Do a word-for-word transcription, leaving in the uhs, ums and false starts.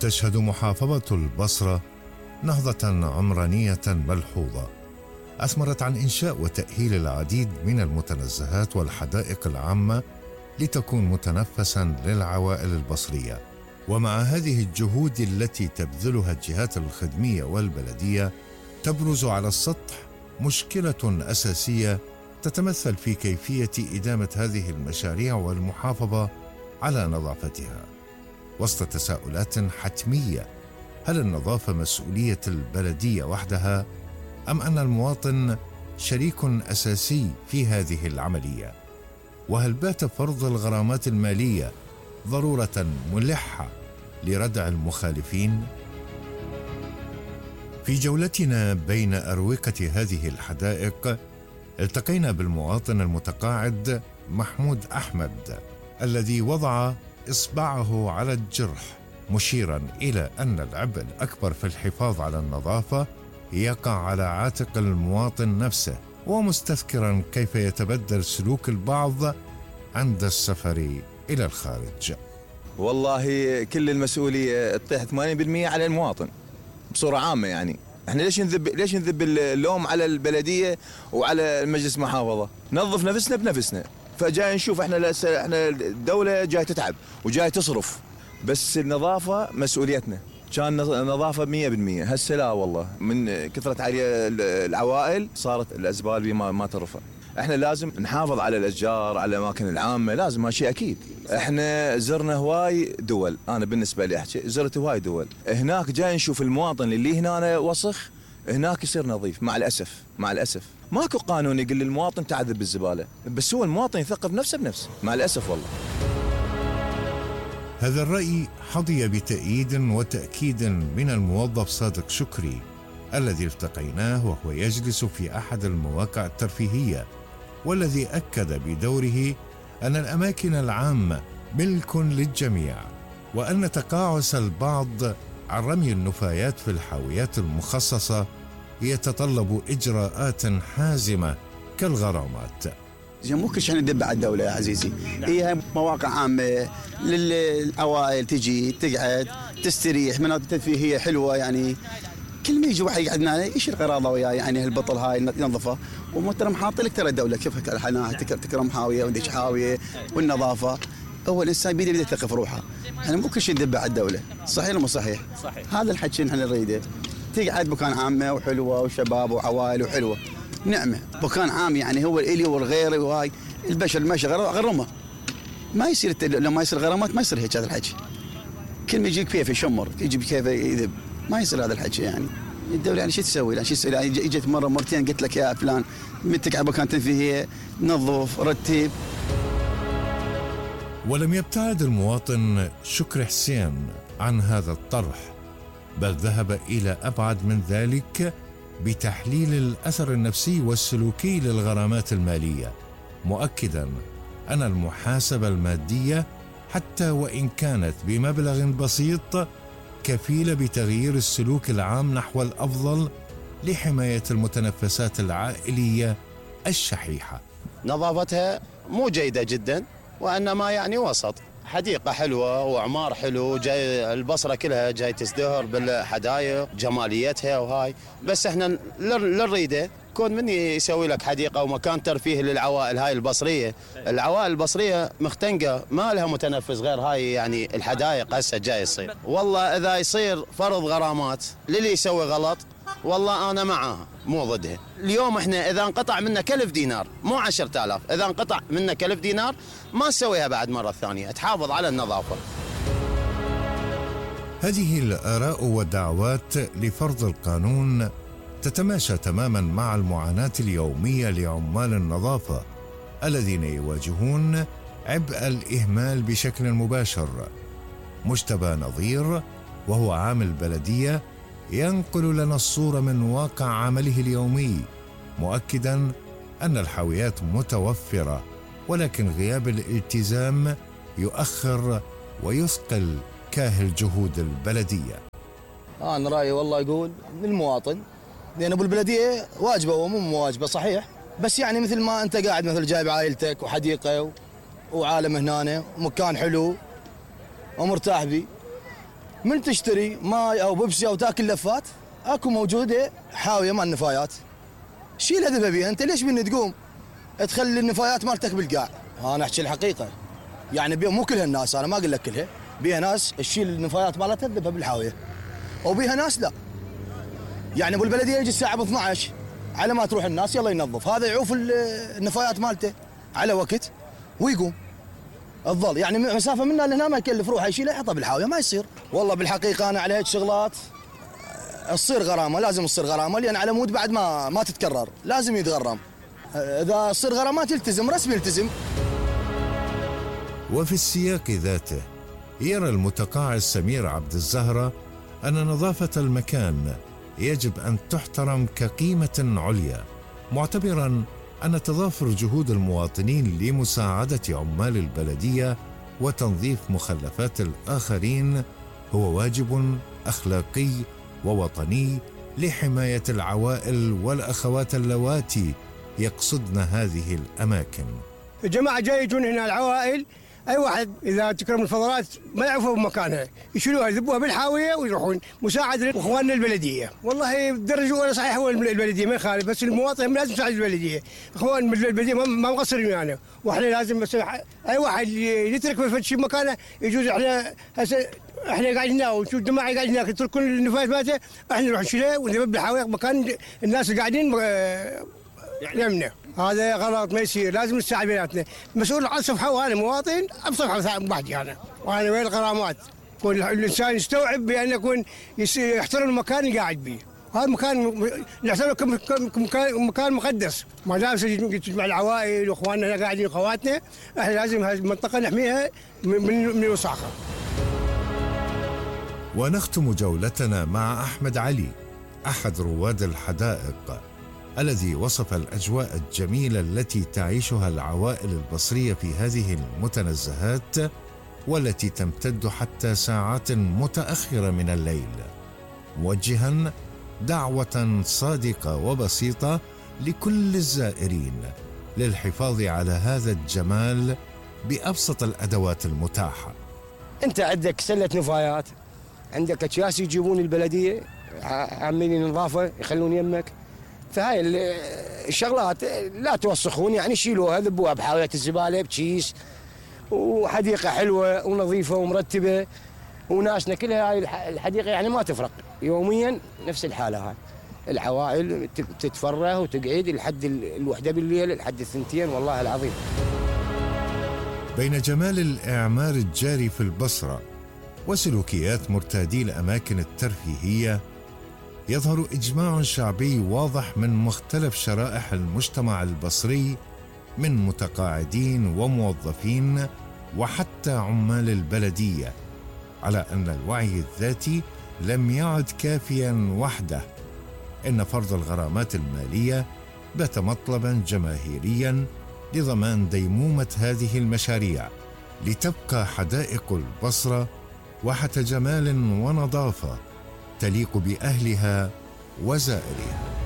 تشهد محافظة البصرة نهضة عمرانية ملحوظة أثمرت عن إنشاء وتأهيل العديد من المتنزهات والحدائق العامة لتكون متنفساً للعوائل البصرية. ومع هذه الجهود التي تبذلها الجهات الخدمية والبلدية تبرز على السطح مشكلة أساسية تتمثل في كيفية إدامة هذه المشاريع والمحافظة على نظافتها، وسط تساؤلات حتمية: هل النظافة مسؤولية البلدية وحدها أم أن المواطن شريك أساسي في هذه العملية؟ وهل بات فرض الغرامات المالية ضرورة ملحة لردع المخالفين؟ في جولتنا بين أروقة هذه الحدائق التقينا بالمواطن المتقاعد محمود أحمد الذي وضع إصبعه على الجرح، مشيرا إلى أن العبء الأكبر في الحفاظ على النظافة يقع على عاتق المواطن نفسه، ومستذكرا كيف يتبدل سلوك البعض عند السفر إلى الخارج. والله كل المسؤولية تطيح ثمانين بالمئة على المواطن بصورة عامة. يعني احنا ليش نذب ليش نذب اللوم على البلدية وعلى مجلس محافظة؟ نظف نفسنا بنفسنا. فجاي نشوف احنا احنا الدولة جاي تتعب وجاي تصرف، بس النظافة مسؤوليتنا. كان نظافة مئة بالمئة، هسه لا والله، من كثرة علي العوائل صارت الأزبال ما ما ترفع. احنا لازم نحافظ على الأشجار، على الأماكن العامة، لازم هالشيء أكيد. احنا زرنا هواي دول، أنا بالنسبة لي أحكي زرت هواي دول، هناك جاي نشوف المواطن اللي هنا وسخ هناك يصير نظيف. مع الأسف مع الأسف ماكو قانون يقول للمواطن تعذب بالزبالة، بس هو المواطن يثقف نفسه بنفسه مع الأسف والله. هذا الرأي حظي بتأييد وتأكيد من الموظف صادق شكري الذي التقيناه وهو يجلس في أحد المواقع الترفيهية، والذي أكد بدوره أن الأماكن العامة ملك للجميع، وأن تقاعس البعض عن رمي النفايات في الحاويات المخصصة يتطلب إجراءات حازمة كالغرامات. مو كل شيء ندب على الدولة يا عزيزي، هي مواقع عامة للعوائل تجي تقعد تستريح، مناطق ترفيهية حلوة. يعني كل ما يجي واحد يقعدنا يشيل غراضه وياه، يعني هالبطل هاي ينظفه. ومحترم حاط لك ترى الدولة كيف الحناها تكرم حاوية وديش حاوية والنظافة. هو الإنسان بيده بيده يثقف روحه، يعني مو كل شيء ندب على الدولة. صحيح ولا مو صحيح؟ صحيح. هذا الحكي نحن نريده. تقعد مكان عامة وحلوة وشباب وعوائل وحلوة، نعمة مكان عام، يعني هو الإلي والغيري وهاي البشر الماشي غرمه. ما يصير لما يصير غرامات ما يصير هيك هذا الحكي. كل ما يجي كيف يشمر يجي كيف يذب، ما يصير هذا الحكي. يعني الدولة يعني شو تسوي؟ يعني شو تسوي؟ يعني اجت مرة مرتين قلت لك يا فلان متك مكان تنفيذية نظف رتب. ولم يبتعد المواطن شكري حسين عن هذا الطرح، بل ذهب إلى أبعد من ذلك بتحليل الأثر النفسي والسلوكي للغرامات المالية، مؤكداً أن المحاسبة المادية حتى وإن كانت بمبلغ بسيط كفيلة بتغيير السلوك العام نحو الأفضل لحماية المتنفسات العائلية الشحيحة. نظافتها مو جيدة جداً، وإنما يعني وسط. حديقة حلوة وعمار حلو، جاي البصرة كلها جاي تزدهر بالحدائق جماليتها وهاي، بس احنا للريدة كون من يسوي لك حديقة ومكان ترفيه للعوائل هاي البصرية. العوائل البصرية مختنقة ما لها متنفس غير هاي، يعني الحدائق هسه جاي يصير. والله إذا يصير فرض غرامات للي يسوي غلط والله أنا معاها مو ضدها. اليوم احنا إذا انقطع منا كلف دينار مو عشرة آلاف، إذا انقطع منا كلف دينار ما تسويها بعد مرة ثانية، تحافظ على النظافة. هذه الآراء والدعوات لفرض القانون تتماشى تماما مع المعاناة اليومية لعمال النظافة الذين يواجهون عبء الإهمال بشكل مباشر. مجتبى نظير وهو عامل بلدية ينقل لنا الصورة من واقع عمله اليومي، مؤكدا أن الحاويات متوفرة، ولكن غياب الالتزام يؤخر ويثقل كاهل جهود البلدية. أنا رأيي والله يقول للمواطن، لأن أبو البلدية واجبة ومو مواجبة صحيح، بس يعني مثل ما أنت قاعد مثل جايب عائلتك وحديقة وعالم هنا ومكان حلو ومرتاح بي، من تشتري ماي او بيبسي او تاكل لفات اكو موجوده حاويه مال النفايات. شيل هذبها بيها، انت ليش بين تقوم تخلي النفايات مالتك بالقاع؟ انا احكي الحقيقه، يعني بيها مو كل الناس، انا ما اقول لك كلها، بيها ناس تشيل النفايات مالتها تذبها بالحاويه، وبيها ناس لا. يعني ابو البلديه يجي الساعه اثنعش على ما تروح الناس يلا ينظف، هذا يعوف النفايات مالته على وقت ويقوم. تظل يعني مسافه منا لهنا ما يكلف روحه يشيلها يحطها بالحاويه، ما يصير. والله بالحقيقه انا على هيك شغلات تصير غرامه، لازم تصير غرامه، لان على مود بعد ما ما تتكرر، لازم يتغرم. اذا تصير غرامات يلتزم رسمي يلتزم. وفي السياق ذاته يرى المتقاعد سمير عبد الزهرة أن نظافة المكان يجب أن تحترم كقيمة عليا، معتبراً أن تضافر جهود المواطنين لمساعدة عمال البلدية وتنظيف مخلفات الآخرين هو واجب أخلاقي ووطني لحماية العوائل والأخوات اللواتي يقصدن هذه الأماكن. الجماعة جاي يجون هنا العوائل، أي واحد إذا تكرم الفضلات ما يعرفوا بمكانها يشيلوها يذبوها بالحاوية ويروحون مساعدة إخواننا البلدية. والله بدرجة ولا صحيح هو البلدية ما يخالف، بس المواطن لازم يساعد البلدية. إخوان البلدية ما مقصرين يعني، وإحنا لازم بس أي واحد يترك في شيء مكانه يجوز. إحنا هسه احنا قاعدين هنا ونشوف جماعه قاعدين هناك يتركون النفايات مالته، احنا نروح نشيلها ونذبح بالحاوية مكان الناس اللي قاعدين يمنع. هذا غلط ما يصير، لازم نساعد بيناتنا. مسؤول عن صفحه وانا مواطن بصفحه بعدي انا، وانا وين الغرامات؟ يكون الانسان يستوعب بان يكون يحترم المكان اللي قاعد به. هذا مكان نعتبره كمكان مكان مقدس، ما دام تجمع العوائل واخواننا هنا قاعدين اخواتنا، احنا لازم هذه المنطقه نحميها من من الوساخه. ونختم جولتنا مع أحمد علي أحد رواد الحدائق الذي وصف الأجواء الجميلة التي تعيشها العوائل البصرية في هذه المتنزهات والتي تمتد حتى ساعات متأخرة من الليل، موجها دعوة صادقة وبسيطة لكل الزائرين للحفاظ على هذا الجمال بأبسط الأدوات المتاحة. أنت عندك سلة نفايات، عندك أكياس يجيبون البلدية عاملين نظافة يخلون يمك، فهاي الشغلات لا توسخون، يعني شيلوها ذبوها بحاوية الزبالة بكيس، وحديقة حلوة ونظيفة ومرتبة، وناسنا كلها هاي الحديقة يعني ما تفرق، يوميا نفس الحالة. هاي العوائل تتفرغ وتقعد لحد الوحدة بالليل لحد الثنتين، والله العظيم. بين جمال الإعمار الجاري في البصرة وسلوكيات مرتادي الأماكن الترفيهية يظهر إجماع شعبي واضح من مختلف شرائح المجتمع البصري من متقاعدين وموظفين وحتى عمال البلدية على أن الوعي الذاتي لم يعد كافياً وحده، إن فرض الغرامات المالية بات مطلباً جماهيرياً لضمان ديمومة هذه المشاريع لتبقى حدائق البصرة واحة جمال ونظافة تليق بأهلها وزائرها.